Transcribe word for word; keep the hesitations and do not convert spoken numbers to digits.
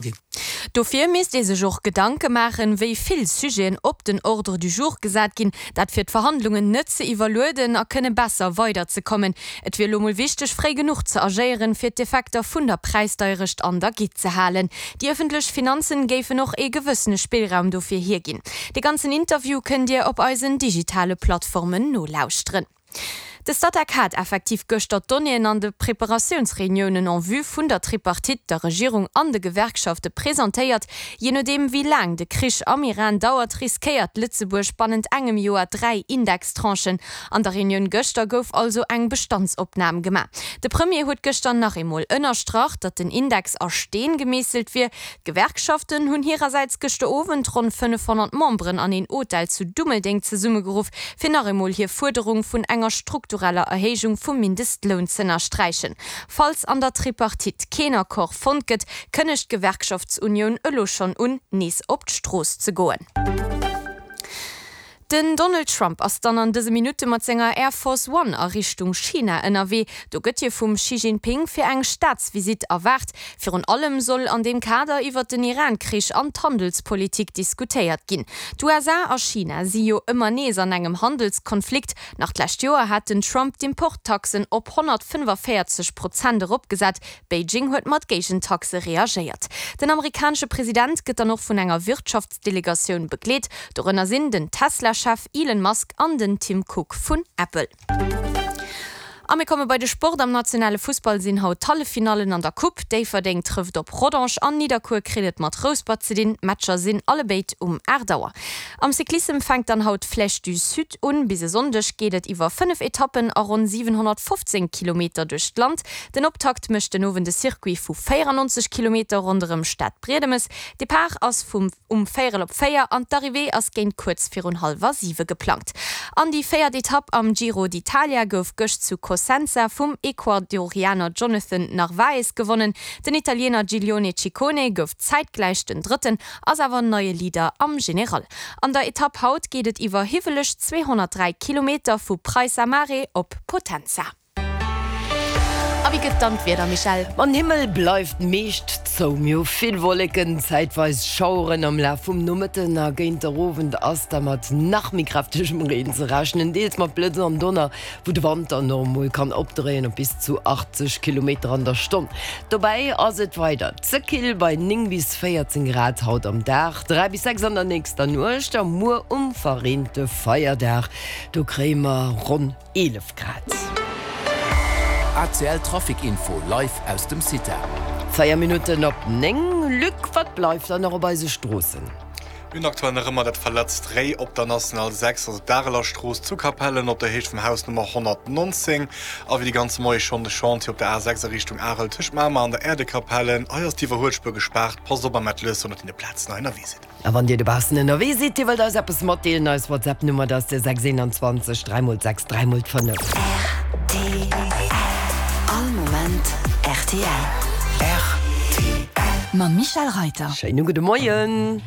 Ginn. Dofir misst ee sech och Gedanke maachen, wéi vill Sujeten op den Ordre du jour gesat ginn, dat fir d'Verhandlungen net ze iwwerlueden a kënne besser weiderzekommen. Et wier elo mol wichteg, fréi genuch ze agéieren, fir d'Effekter vun der Präisdeierecht an der Gitt ze halen. Déi ëffentlech Finanzen géifen och ee gewëssene Spillraum dofir hierginn. De ganzen Interview kënnt Dir op eisen digitale Plattformen nolauschteren. De Statec hat effektiv gëschter d'Donnéeën an de Preparatiounsreuniounen en vue vun der Tripartite, der Regierung an de Gewerkschafte presentéiert. Jee nodeem wéi laang de Krich am Iran dauert, riskéiert Lëtzebuerg bannent engem Joer dräi Indextranchen. An der Reunioun gëschter gouf also eng Bestandsopnam gemaach. De Premier huet gëschter nach eemol ënnerstrach, datt den Index a Steen gemeesselt wier. D'Gewerkschaften hunn hirersäits gëschter Owend ronn fënnefhonnert Memberen an een Hotel zu Dummeldeng zesummegeruff, fir nach eemol hir Fuerderung vun enger struktureller Erhéijung vum Mindestloun z'ënnersträichen. Falls an der Tripartite keen Accord fonnt gëtt, kënnegt d'Gewerkschaftsunioun elo schonn un, nees op d'Strooss ze goen. Den Donald Trump ass dann an dëse Minutte mat senger Air Force One a Richtung China ënnerwee. Do gëtt hie vum Xi Jinping fir eng Staatsvisitt erwaart. Virun allem soll an deem Kader iwwert den Iran-Krich an d'Handelspolitik diskutéiert ginn. D'U S A a China si jo ëmmer nees an engem Handelskonflikt. Nach d'lescht Joer hat den Trump d'Importtaxen op honnertfënnefvéierzeg Prozent eropgesat. Beijing huet mat Géigentaxe reagéiert. Den amerikanesche President gëtt dann och vun enger Wirtschaftsdelegatioun begleet. Dorënner sinn den Tesla-Chef Elon Musk an den Tim Cook vun Apple. A mir komme bei de Sport. Am nationale Fussball sinn haut d'Halleffinallen an der Coupe. Déifferdeng trëfft op Rodange an Nidderkuer kritt et mat Rouspert ze dinn. D'Matcher sinn allebéid um aacht Auer. Am Cyclissem fänkt dann haut d'Flèche du Sud un. Bis e Sonndeg geet et iwwer fënnef Etappen a ronn siwenhonnertfofzéng Kilometer duerch d'Land. Den Optakt mécht den Owend e Circuit vu véierannonzeg Kilometer ronderëm Stadbriedemes. Depart ass vum um véierel op véier an d'Arrivée ass géint kuerz virun hallwer siwe geplangt. An déi véiert Etapp am Giro d'Italia gouf gëscht zu Cosenza vum Ecuadorianer Jonathan Narvaez gewonnen. Den Italiener Giglione Ciccone gouf zäitgläich den Drëtten, ass awer neie Leader am General. An der Etapp haut geet et iwwer hiwweleg zweehonnertdräi Kilometer vu Praisa Mare op Potenza. A wéi gëtt dann d'Wieder, Michèle? Ma den Himmel bleift meescht zou, mir hu vill Wolleken, zäitweis Schaueren. Am Laf vum Nomëtten a géint der Owend ass da mat nach méi kräftegem Reen ze rechnen, deels mat Blëtz an Donner, wou de Wand dann och emol kann opdréien op bis zu achtzeg Kilometer an der Stonn. Dobäi ass et weider ze kill bei néng bis véierzéng Grad haut am Dag, dräi bis sechs an der nächster Nuecht a muer um verreente Feierdag, do kréie mer ronn eelef Grad. A C L Trafic Info live aus dem CITA. Véier Minutten op néng. Luc, wat bleift dann nach op eise Stroossen? Mir hunn aktuell nach ëmmer dat verletzt Réi op der National sechs, also d'Areler Strooss zu Capellen op der Héicht vum Haus Nummer honnertnonzéng. A wéi de ganze Moie schonn de Chantier op der A sechs a Richtung Arel tëscht Mamer an der Äerdekapellen. Hei ass d'Iwwerhuelspuer gespaart. Passt op am Mettlëss, wann der op deene Plazen hei ënnerwee sidd. A wann Dir dobaussen ënnerwee sidd, Dir wëllt eis eppes matdeelen, eis WhatsApp-Nummer, dat ass de sechs eenanzwanzeg dräi mol sechs dräi mol fënnef. R T L. All Moment R T L. R T L. Mam Michèle Reiter. Schéine gudde Moien.